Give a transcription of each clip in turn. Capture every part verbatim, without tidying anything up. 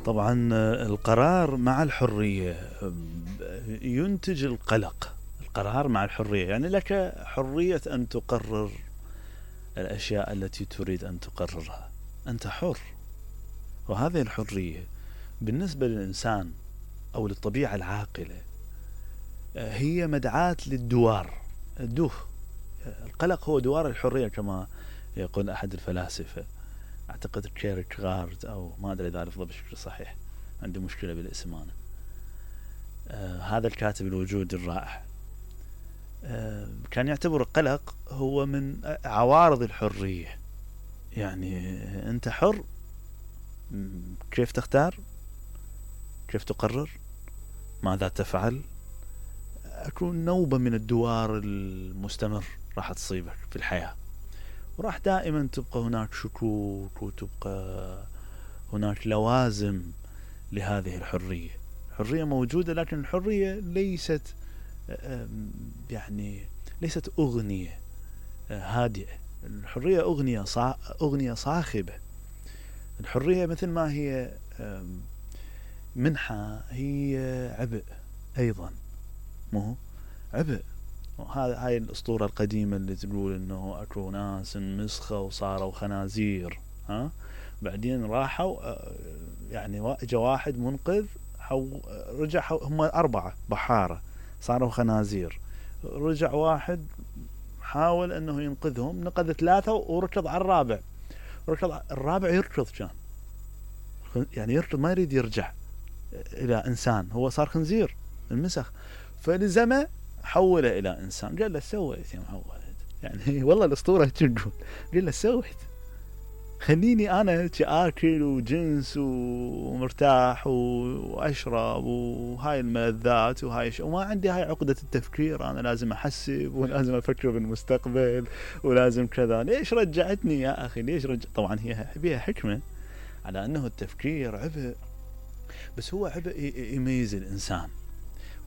طبعا القرار مع الحرية ينتج القلق. القرار مع الحرية يعني لك حرية أن تقرر الأشياء التي تريد أن تقررها، أنت حر. وهذه الحرية بالنسبة للإنسان أو للطبيعة العاقلة هي مدعاة للدوار، الدوه. القلق هو دوار الحرية كما يقول أحد الفلاسفة، أعتقد كيركغارد أو ما أدري إذا لفظه بشكل صحيح، عندي مشكلة بالاسم أنا. آه هذا الكاتب الوجود الرائع آه كان يعتبر القلق هو من عوارض الحرية. يعني أنت حر كيف تختار، كيف تقرر، ماذا تفعل. أكون نوبة من الدوار المستمر راح تصيبك في الحياة، وراح دائما تبقى هناك شكوك وتبقى هناك لوازم لهذه الحرية. الحرية موجودة، لكن الحرية ليست يعني ليست أغنية هادئة. الحرية أغنية صا... أغنية صاخبة. الحرية مثل ما هي منحة هي عبء أيضا، مو عبء. وهذا هاي الأسطورة القديمة اللي تقول إنه أكو ناس مسخة وصاروا خنازير، ها بعدين راحوا يعني جا واحد منقذ حو رجع حو هم أربعة بحارة صاروا خنازير، رجع واحد حاول إنه ينقذهم، نقذ ثلاثة وركض على الرابع. ركض الرابع يركض كان يعني يركض ما يريد يرجع إلى إنسان، هو صار خنزير المسخ، فلزمه حوله إلى إنسان. قال له سويت يا محمد، يعني والله الأسطورة تقول، قال له سويت خليني أنا آكل وجنس ومرتاح وأشرب وهاي الملذات وهاي ش... وما عندي هاي عقدة التفكير، أنا لازم أحسب ولازم أفكر بالمستقبل ولازم كذا. ليش رجعتني يا أخي، ليش رجع؟ طبعا هي بيها حكمة على أنه التفكير عبء، بس هو عبء يميز الإنسان.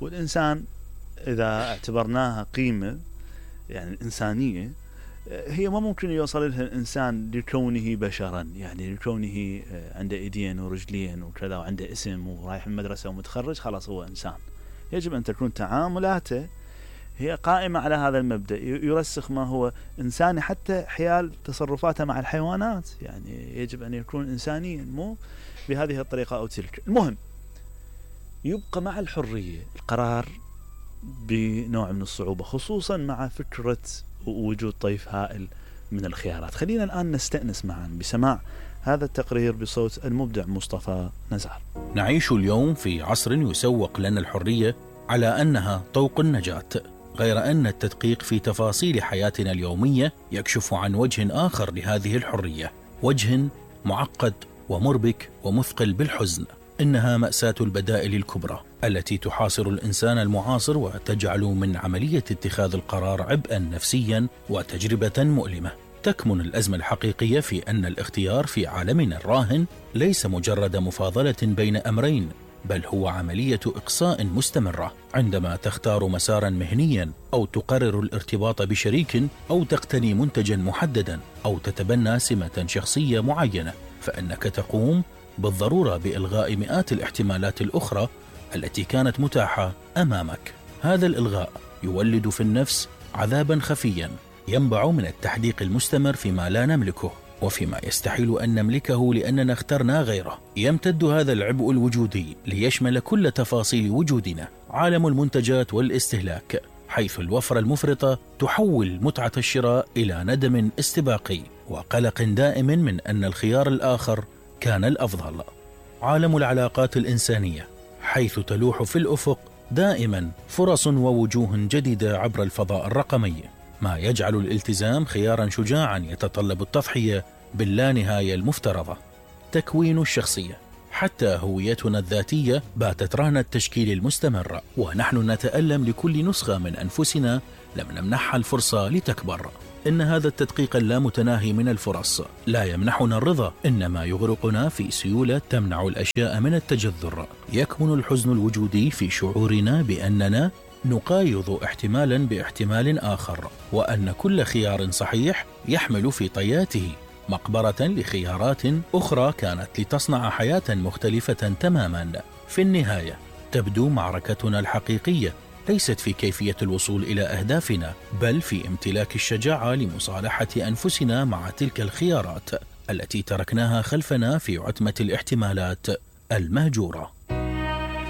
والإنسان إذا اعتبرناها قيمة يعني الإنسانية، هي ما ممكن يوصل لها الإنسان لكونه بشرا، يعني لكونه عنده إيدين ورجلين وكذا وعنده اسم ورايح المدرسة ومتخرج خلاص هو إنسان. يجب أن تكون تعاملاته هي قائمة على هذا المبدأ، يرسخ ما هو إنساني حتى حيال تصرفاته مع الحيوانات. يعني يجب أن يكون إنسانيا، مو بهذه الطريقة أو تلك. المهم يبقى مع الحرية القرار بنوع من الصعوبة، خصوصا مع فكرة وجود طيف هائل من الخيارات. خلينا الآن نستأنس معا بسماع هذا التقرير بصوت المبدع مصطفى نزار. نعيش اليوم في عصر يسوق لنا الحرية على أنها طوق النجاة، غير أن التدقيق في تفاصيل حياتنا اليومية يكشف عن وجه آخر لهذه الحرية، وجه معقد ومربك ومثقل بالحزن. إنها مأساة البدائل الكبرى التي تحاصر الإنسان المعاصر وتجعل من عملية اتخاذ القرار عبئا نفسيا وتجربة مؤلمة. تكمن الأزمة الحقيقية في أن الاختيار في عالمنا الراهن ليس مجرد مفاضلة بين أمرين، بل هو عملية إقصاء مستمرة. عندما تختار مسارا مهنيا أو تقرر الارتباط بشريك أو تقتني منتجا محددا أو تتبنى سمة شخصية معينة، فإنك تقوم بالضرورة بإلغاء مئات الاحتمالات الأخرى التي كانت متاحة أمامك. هذا الإلغاء يولد في النفس عذابا خفيا ينبع من التحديق المستمر فيما لا نملكه وفيما يستحيل أن نملكه لأننا اخترنا غيره. يمتد هذا العبء الوجودي ليشمل كل تفاصيل وجودنا، عالم المنتجات والاستهلاك، حيث الوفرة المفرطة تحول متعة الشراء إلى ندم استباقي وقلق دائم من أن الخيار الآخر كان الأفضل. عالم العلاقات الإنسانية، حيث تلوح في الأفق دائما فرص ووجوه جديدة عبر الفضاء الرقمي، ما يجعل الالتزام خيارا شجاعا يتطلب التضحية باللانهاية المفترضة. تكوين الشخصية، حتى هويتنا الذاتية باتت رهن التشكيل المستمر، ونحن نتألم لكل نسخة من أنفسنا لم نمنحها الفرصة لتكبر. إن هذا التدقيق اللامتناهي من الفرص لا يمنحنا الرضا، إنما يغرقنا في سيولة تمنع الأشياء من التجذر. يكمن الحزن الوجودي في شعورنا بأننا نقايض احتمالا باحتمال آخر، وأن كل خيار صحيح يحمل في طياته مقبرة لخيارات أخرى كانت لتصنع حياة مختلفة تماما. في النهاية تبدو معركتنا الحقيقية ليست في كيفية الوصول إلى أهدافنا، بل في امتلاك الشجاعة لمصالحة أنفسنا مع تلك الخيارات التي تركناها خلفنا في عتمة الاحتمالات المهجورة.